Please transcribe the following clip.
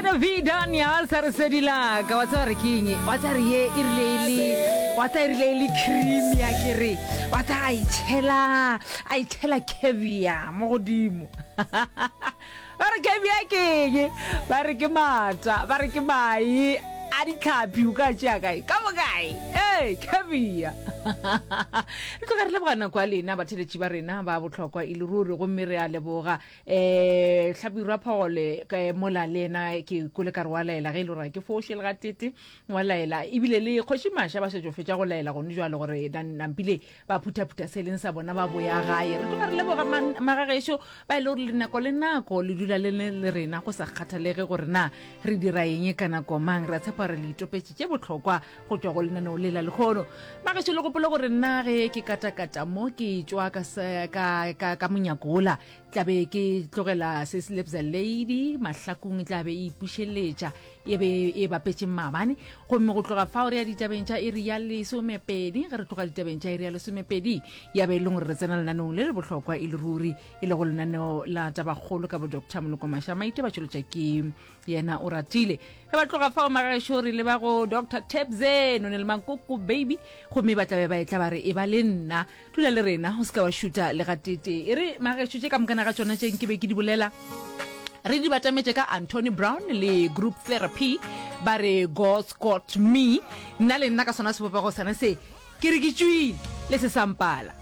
Yena V Daniel sa re sedi la ka wa tseba re ke eng wa tseba re ye e rile e le wa tseba e rile e le cream ya ke re wa tseba a itšhela a itšhela caviar mo godimo ba re caviar ke eng ba re ke mata ba re ke mae a ditlhapi o ka tšea kae ka bokae ee caviar re tloga re leboga nako ya lena batheletši ba rena ba bohlokwa e le ruri gomme re a leboga um hlabirwa phogole mola le yena ke kole ka re wa laela ge e le gore ke foše le gatete wa laela ebile le kgoši maša ba šetšo fetša go laela gone jalo gore nampile ba phuthaphutha se leng sa bona ba boya gae re tloga re leboga magagešo ba e le gore le nako le nako le dula le le rena go sa kgathalege gore na re dira eng ka nako mang re a tshepa gore le itopetše tše bohlokwa go tšwa go lenaneo le la lekgono magešo le gopole gore nna ge ke katakata mo ke tšwa ka, ka, ka, ka monyakola Tla be ke tlogela se Lebza Lady mahlakong e tla be e ipušeletša e be e bapetše maabane gomme go tloga fao re ya ditabeng tša iri ya lesomepedi ge re tloga ditabeng tša iri ya lesomepedi ya be e leng gore re tsena lenaneong le le bohlokwa e le ruri e lego lenaneo la tabakgolo ka bo Dr Moloko Mašamaite ba tšweletša ke yena o ratile ge ba tloga fao magaešo re leba go Dr Tebze none le Mankoko baby gomme ba tla be ba etla ba re e ba le nna Dula le rena, o se ka wa šuta le gateetee. E re, magešo, tše ka mokana ga tšona tše nke be ke di bolela, re di batametše ka Anthony Brown le Group Therapy, ba re God's Got Me. Nna le nna ka sona sebopego sona se, ke re ke tšwile, le se sa mpala.